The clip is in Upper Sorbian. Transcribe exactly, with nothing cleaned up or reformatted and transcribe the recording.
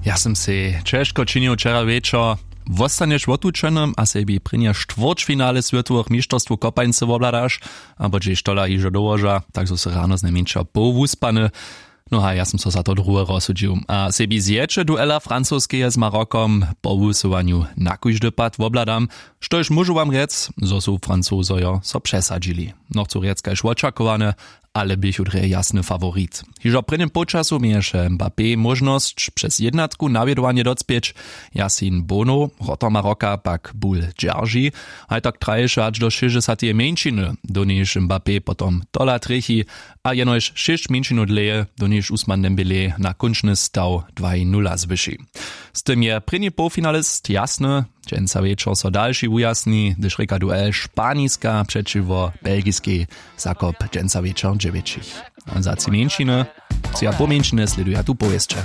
Ja sym sej ćežko činił wčera wječor. Wostanješ wotučeny a sebi prěnje štwórćfinale swětowych mišterstwow kopańcy wobhladaš, abo hdźež tola hižo dołoža, tak zo sy rano znajmjeńša poł wuspany. No a ja sym so za to druhe rozsudźił a sebi zjeće duela francoskeje z Marokom po wusyłanju na kóždy pad wobhladam, štož móžu wam rjec, zo su Francozojo so přesadźili. Nochcu rjec kaž wočakowane, ale běchu drje jasny faworit. Hižo w prěnim połčasu měješe Mbappé móžnosć přez jednatku nawjedowanje docpěć. Jasin Bono, wrotor Maroka, pak bul dźerži. Haj tak traješe hač do šěsćdźesateje mjeńšiny, do njež Mbappé potom tola trjechi a jenož šěsć mjeńšinow dlěje, do njež Usman Dembélé na kónčny staw dwaj nula zwyši. Z tym je prěni połfinalist jasny. Dźensa wječor so dalši wujasni, hdyž rěka duel Španiska přećiwo Belgiskej, zakop dźensa wječor dźewjećich. A za tři mjeńšiny, tři a poł mjeńšiny sleduja tu powěsće.